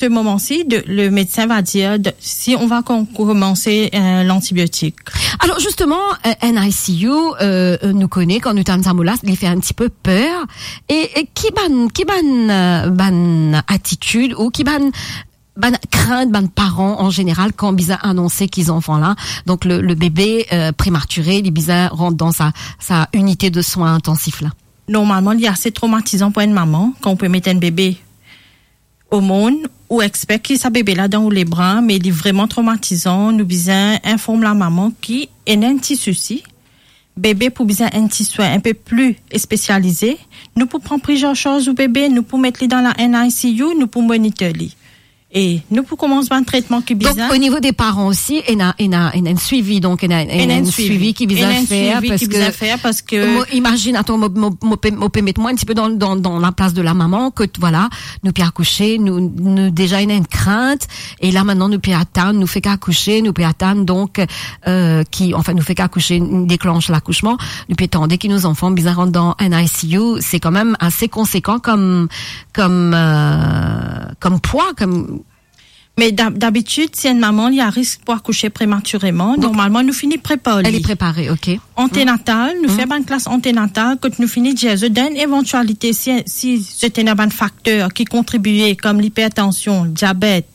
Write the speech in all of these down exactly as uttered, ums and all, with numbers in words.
ce moment-ci, de, le médecin va dire de, si on va com-, commencer, euh, l'antibiotique. Alors justement, euh, N I C U, euh, euh, nou kone, kan nou tann sa mo la, li fer enn tipe per. E, e ki bann, ki bann, euh, bann atitid ou ki bann, bann krint bann paran an zeneral kan bizin anonse ki zanfan la, donk le, le bebe, euh, prematire, li bizin rant dan sa, sa inite de swin intansif la? Normalman, li ase tromatizan pou enn mama kan ou pe met enn bebe omonn, ou expek ki sa bebe la dan ou lebra, me li vreman tromatizan, nou bizin inform lamama ki ena enn ti sousi, bebe pou bizin enn ti swin enpe pli spesialize, nou pou pran priz an sarz ou bebe, nou pou met li dan la N I C U, nou pou monitor li. E nou pou koumans bann tretman ki bizin. Donc, au niveau des parents aussi, ena, ena, ena enn swivi, donk ena, ena enn swivi ki bizin fer, parski mo imazinn, atann, mo, mo, mo pe, mo pe met mwa enn tipe dan, dan, dan la plas de la mama, ke, vwala, nou pe akouse, nou, nou deza ena enn krint, e la, mintnan, nou pe atann, nou fek akouse, nou pe atann, donk, euh, ki, anfin, nou fek akouse, deklanse lakousman, nou pe tande ki nou zanfan bizin rant dan N I C U, se kanmem ase konsekan kom, kom, euh, kom pwa, kom... Me dab-, dabitid, si enn mama li a risk pou akouse prematireman, donk, normalman, nou fini prepar li. Li prepare, ok. Antenatal, nou fer bann klas antenatal, kot nou fini dir zot dan enn evantialite, si, si zot ena bann fakter ki kontribie, kom lipertansion, diabet,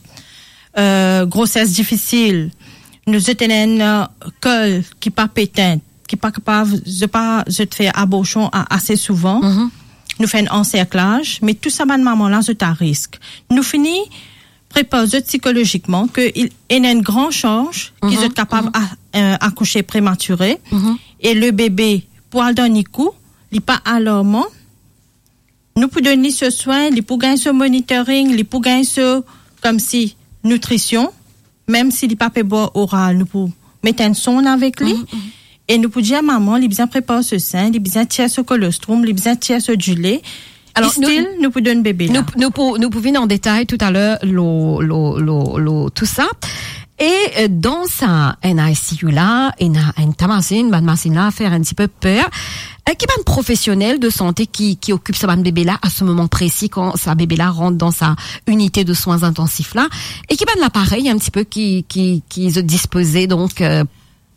euh, groses difisil, nou, zot ena enn, euh, kol ki pa pe tint, ki pa kapav, zot pa, zot fer aborsion a-, ase souvan. Nou fer enn anserklaz, me tou sa bann mama la, zot a risk. Nou fini prepar zot sikolozikman ke il, ena enn gran sans ki zot kapav a-, euh, akouse prematire, e le bebe pou al dan NICU, li pa alarman, nou pou donn li so swin, li pou gagn so monitoring, li pou gagn so, komsi, nitrision, mem si li pa pe bwar oral, nou pou met enn sonn avek li, e nou pou dir mama, li bizin prepar so sin, li bizin tir so kolostrom, li bizin tir so dile. Alor, nou, stil, nou pou donn bebe la. Nou, nou pou, nou pou vinn an detay toutaler lo, lo, lo, lo tou sa. E, euh, dan sa N I C U la, ena enn ta masinn, bann masinn la fer enn tipe per. Euh, ki bann profesionel de sante ki, ki okip sa bann bebe la a se moman presi, kan sa bebe la rant dan sa inite de swin intansif la? E ki bann laparey enn tipe ki, ki, ki zot dispoze, donk, euh,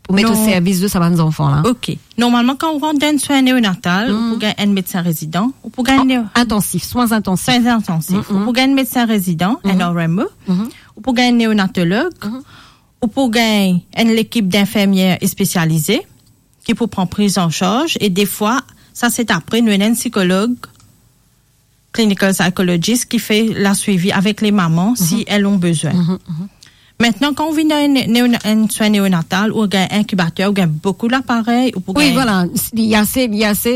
pou met o servis de sa bann zanfan la? Ok. Normalman, kan ou rant dan enn swin neonatal, ou pou gagn enn medsin rezidan, ou pou gagn neo- Intansif, swin intansif. Swin intansif. Ou pou gagn enn medsin rezidan, enn R M E, ou pou gagn enn neonatolog, ou pou gagn enn lekip dinfermier spesialize ki pou pran priz an sarz, e defwa, sa se apre, nou ena enn sikolog, clinical psychologist ki fer laswivi avek le mama si elles ont besoin. Mintnan, kan ou vinn dan enn, enn, enn swin neonatal, ou gagn inkibater, ou gagn boukou laparey, ou pou gagn... Wi, vwala, li ase, li ase,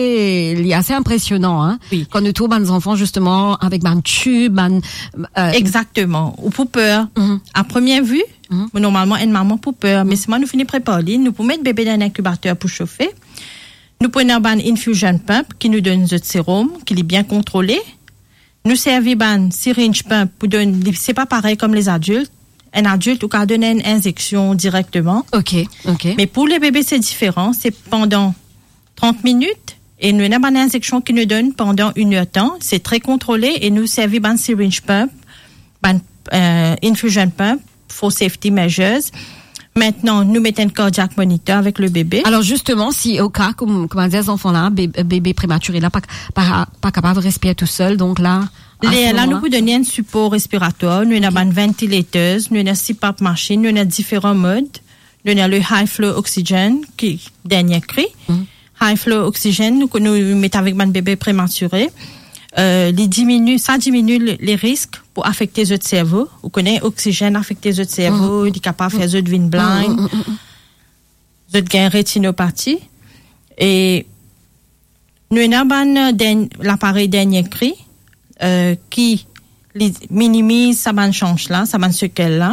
li ase inpresionan, hein. Wi. Kan nou trouv bann zanfan, zisteman, avek bann tib, bann, euh... Exactement. Ou pou per. A première vue, normalman, enn mama pou per, me selman nou fini prepar li, nou pou met bebe dan inkibater pou sofe. Nou pou ena bann infusion pump ki nou donn zot serum, ki li bien kontrole. Nou servi bann syringe pump pou donn, li, se pa parey kom lezadilt. Enn adilt, ou kav donn enn inzeksion direkteman. Ok, ok. Me pou le bebe, se diferan. Se pandan trant minit, e nou ena bann inzeksion ki nou donn pandan enn er tan. Se tre kontrole e nou servi bann syringe pump, bann, euh, infusion pump, for safety measures. Mintnan, nou met enn cardiac monitor avek le bebe. Alor, zisteman, si o ka, kom, kouma dir, zanfan la, be-, bebe prematire la, pa, pa, pa kapav respir tousel, donk la, a se moman la, nou pou donn li enn sipor respiratwar, nou ena bann ventilators, nou ena C PAP masinn, nou ena diferan mod, nou ena le high flow oxygen, ki dernie kri. High flow oxygen, nou, nou met avek bann bebe prematire. Euh, li dimini, sa dimini le, le risk pou afekte zot servo. Ou kone, oksizenn afekte zot servo, li kapav fer zot vinn blind. Zot gagn retinopati. E nou ena bann, euh, derni-, laparey dernie kri, euh, ki li minimiz sa bann sans la, sa bann sekel la.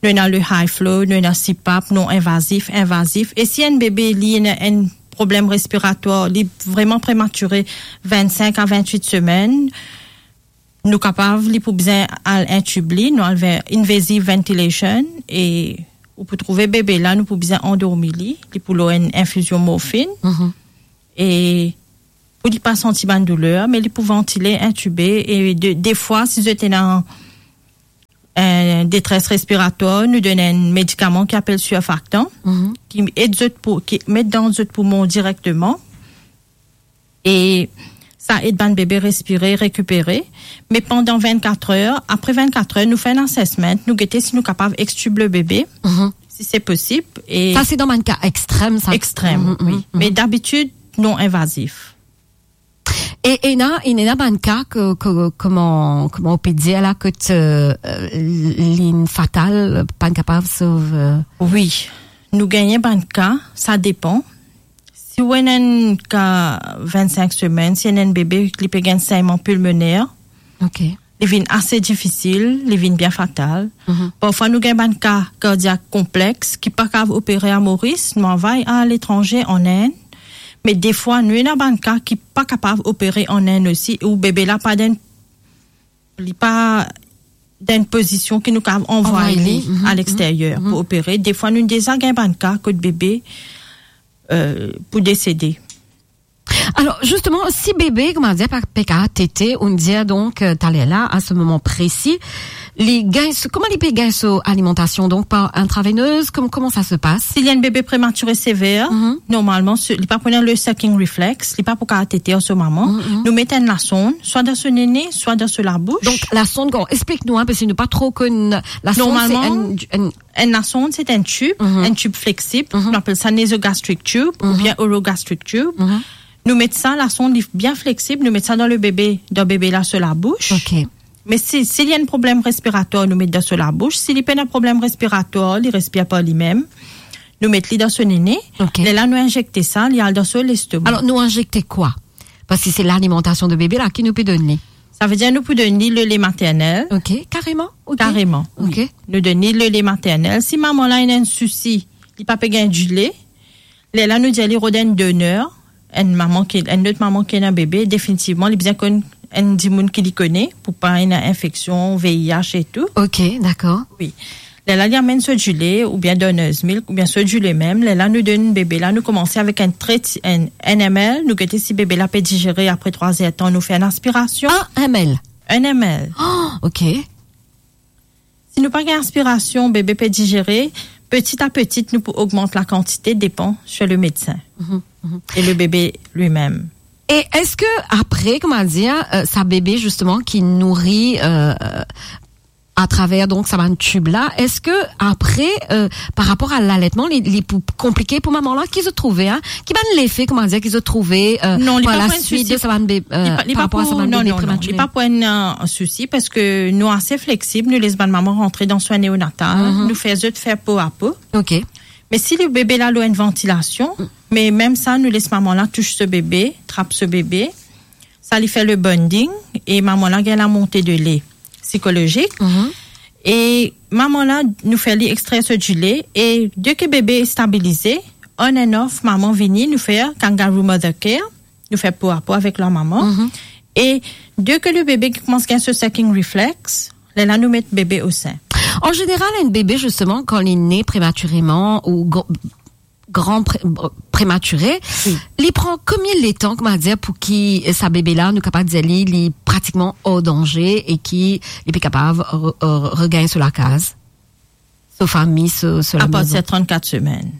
Nou ena le high flow, nou ena C PAP, non invazif, invazif. E si enn bebe, li ena enn problem respiratwar, li vreman prematire, vennsenk a vennwit semenn, nou kapav, li pou bizin al intib li, nou al ver invasive ventilation, e ou pou trouve bebe la, nou pou bizin andormi li, li pou lor enn infizion morfinn. E pou li pa santi bann douler, me li pou vantile, intibe, e de, defwa, si zot ena detres respiratwar, nou donn enn medikaman ki apel surfactant, Mhm. ki ed zot pou, ki met dan zot poumon direkteman. E sa ed bann bebe respire, rekipere. Me pandan vennkat er, apre vennkat er, nou fer enn assessment, nou gete si nou kapav extube le bebe, Mhm. si se posib. E Sa, se dan bann ka ekstrem, sa. Ekstrem, Mhm, wi. mhm, Me mhm. dabitid, non invazif. E, ena, ena bann ka ke, ke, kouma, kouma ou pe dir la, kot, euh, li fatal, pa kapav sov, euh. Wi, nou gagn bann ka, sa depan. Si ou ena enn ka vennsink semenn, si ena enn bebe, li pe gagn senyman pilmoner. Ok. Li vinn ase difisil, li vinn bien fatal. Mhm. Parfwa nou gagn bann ka kardiak konplex ki pa kapav opere a Moris, nou anvway aletranze, an Inn. Me defwa nou ena bann ka ki pa kapav opere an Inn osi, ou bebe la pa dan, li pa dan pozision ki nou kapav anvway Anvway li, li, mhm, a lexteryer mhm, pou mhm. opere. Defwa nou deza gagn bann ka kot bebe, euh, pou desede. Alor, zisteman, si bebe, kouma dir, pa, pe kapav tete, ou dir, donk, euh, taler la, a se moman presi, li gagn so, kouma li pe gagn so alimantasion, donk, par intravenez, kom-, kouma sa se pas? Si li enn bebe prematire sever, Mhm. normalman, se, li pa pou ena le sucking reflex, li pa pou kapav tete ar so mama. Mhm, mhm. Nou met enn lasonn, swa dan so nene, swa dan so labous. Donk, lasonn, bon, explik nou, hein, parski nou pa tro konn lasonn, se Normalman, enn, enn enn lasonn, se enn tib, Mhm. enn tib fleksib, Mhm. nou apel sa nasogastric tube Mhm. oubien orogastric tube. Mhm. Nou met sa, lasonn li bien fleksib, nou met sa dan le bebe, dan bebe la so labous. Ok. Me si, si li ena problem respiratwar, nou met dan so labous. Si li pena problem respiratwar, li respir par limem, nou met li dan so nene. Ok. Lerla nou inzekte sa, li al dan so lestoma. Alor, nou inzekte kwa? Parski se lalimantasion de bebe la ki nou pe donn li. Savedir nou pou donn li le lait maternel. Ok, kareman, ok. Kareman, wi. Ok. Nou donn li le lait maternel. Si mama la ena enn sousi, li pa pe gagn dile, lerla nou dir li rod enn doner, enn mama ki, enn lot mama ki ena bebe, definitivman, li bizin konn enn dimoun ki li kone, pou pa ena infeksion, V I H e tou. Ok, dakor. Wi. Lerla li amenn so dile, oubien doner's milk, oubien so dile mem. Lerla nou donn bebe la, nou koumans avek enn tre ti, enn, enn M L, nou gete si bebe la pe dizere, apre trwa zer tan, nou fer enn aspirasion. Enn M L? Enn M L. Oh, ok. Si nou pa gagn aspirasion, bebe pe dizere, peti a peti, nou pou ogmant lakantite, depan sir le medsin Mhm, mhm. e le bebe limem. E eski apre, kouma dir, euh, sa bebe, zisteman, ki nouri, euh, atraver, donk, sa bann tib la, eski apre, euh, par rapor a laletman, li, li pou konplike pou mama la? Ki zot trouve, hein? Ki bann lefe, kouma dir, ki zot trouve, euh, Non, li par pa la pou enn suit sousi. de sa bann be-, Li euh, pa, li par pa rapor a pou, sa bann non, bebe non, non, li premature? pa pou enn, euh, sousi, parski nou ase fleksib, nou les bann mama rantre dan swin neonatal, Mhm. nou fer zot fer po a po. Ok. Me si le bebe la lor enn vantilasion, Mm. me mem sa, nou les mama la tous so bebe, trap so bebe, sa li fer le bonding, e mama la gagn lamonte de lait psikolozik. Mhm. E mama la, nou fer li extrer so dile, e deki bebe stabilize, on and off, mama vini, nou fer kangaroo mother care, nou fer po a po avek lamama. Mhm. E deki le bebe koumans gagn so sucking reflex, lerla nou met bebe o sin. An zeneral, enn bebe, zisteman, kan li ne prematireman ou gr-, gran pre-, prematire, Wi. li pran konbien letan, kouma dir, pou ki sa bebe la, nou kapav dir li, li pratikman or danze e ki li pe kapav re-, re-, regagn so lakaz, so fami, so, so Apartir lamezon? trannkat semenn.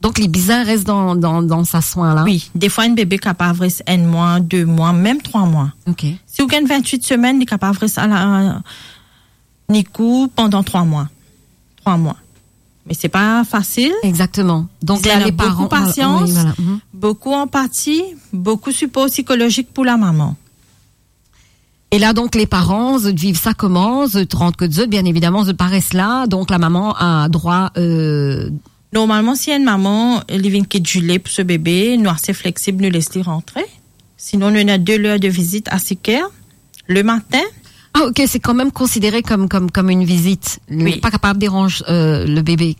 Donk, li bizin res dan, dan, dan sa swin la? Wi, defwa enn bebe kapav res enn mwa, de mwa, mem trwa mwa. Ok. Si ou gagn vintwit semenn, li kapav res a la, nikou pandan trwa mwa. Trwa mwa. Me se pa fasil. Exactement. Donc, Bizin là, les parents, boukou voilà, pasians, oui, voilà, mhm. boukou anpati, boukou sipor psikolozik pou lamama. E la, donk, les parents, zot viv sa kouma? Zot rant kot zot, bien évidemment, zot pa res la. Donk, lamama a drwa, euh, Normalman, si enn mama, li vinn kit dile pou so bebe, nou ase fleksib, nou les li rantre. Sinon, nou ena de ler de vizit a sik er, le matin. Ah, ok, c'est quand même considéré comme, comme, comme une visite. Li Oui. pa kapav deranz, euh, le bébé.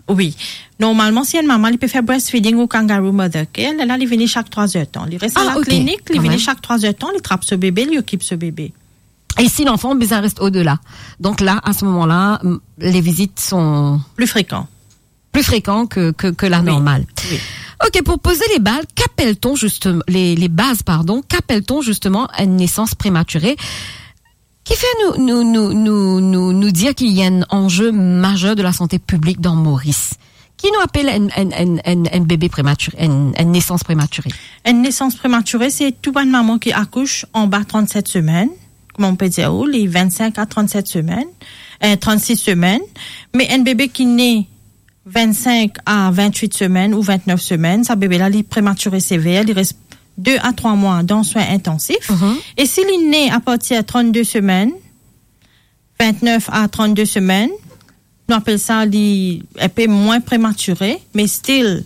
Wi. Normalman, si enn mama, li pe fer breastfeeding ou kangaroo mother care, lerla, li vini sak trwa zer tan. Li res Ah, la ok. klinik, li Quand vini même. sak trwa zer tan, li trap so bebe, li okip so bebe. Et si l'enfant bizin res au-delà? Donc là, à ce moment-là, m-, les visites sont Pli frekan. plus fréquentes que, que, que la Oui. normale. Oui. Ok, pour poser les bases, qu'appelle-t-on justement, les, les bases, pardon, qu'appelle-t-on justement une naissance prématurée? Kifer nou, nou, nou, nou, nou, nou dir ki ena enn anze mazer de lasante piblik dan Moris? Ki nou apel enn, enn, enn, enn, enn bebe prematire, enn, enn nesans prematire? Enn nesans prematire, se tou bann mama ki akouch anba trannset semenn, kouma nou pe dir, ou li vennsink a trannset semenn, eh, trannsis semenn, me enn bebe ki ne vennsink a vintwit semenn ou vintnef semenn, sa bebe la, li prematire sever, li res de a trwa mwa dan swin intansif. Mhm. E si li ne apartir trannde semenn, vintnef a trannde semenn, nou apel sa li enpe mwin prematire, me still,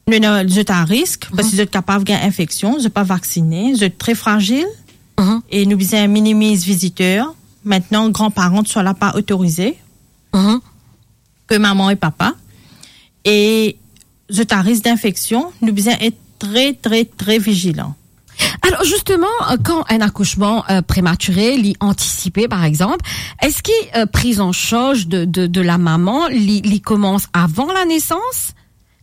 nou ena zot a risk, parski zot kapav gagn infeksion, zot pa vaksine, zot tre frazil, Mhm. e nou bizin minimiz viziter. Aster, granparan, swa la pa otorize, Mhm. ke mama e papa, e zot a risk dinfeksion, nou bizin et tre, tre, tre vizilan. Alor, zisteman, euh, kan enn akousman, euh, prematire, li antisipe, par exanp, eski, euh, priz an sarz de, de, de lamama, li, li koumans avan lanesans?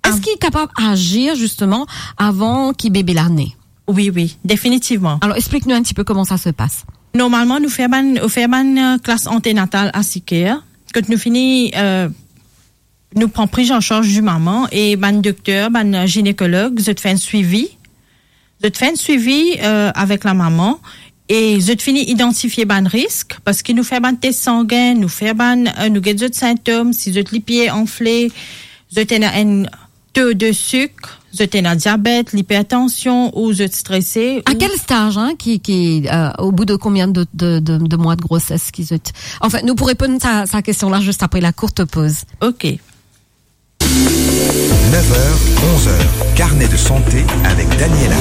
Eski Av- li kapav azir, zisteman, avan ki bebe la ne? Wi, wi, definitivman. Alor, explik nou enn tipe kouma sa se pas. Normalman, nou fer bann, nou fer bann, euh, klas antenatal a sik er, kot nou fini, euh, nou pran priz an sarz di mama e bann dokter, bann ginekolog, zot fer enn swivi. Zot fer enn swivi, euh, avek lamama e zot fini idantifie bann risk, parski nou fer bann tes sangin, nou fer bann, euh, nou get zot sintom, si zot lipie anfle, zot ena enn to de sik, zot ena diabet, lipertansion ou zot strese. A ou- kel staz, hein, ki, ki, euh, au bout de combien de, de, de, de mois de grossesse ki zot... Anfin, nou pou reponn sa, sa kestion la zis apre la courte pause. Ok. Nef er, onz er, carnet de santé avec Daniela.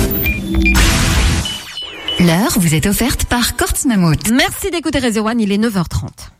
L'heure vous est offerte par Courts Mammouth. Merci d'écouter Réseau One, il est neuf heures trente.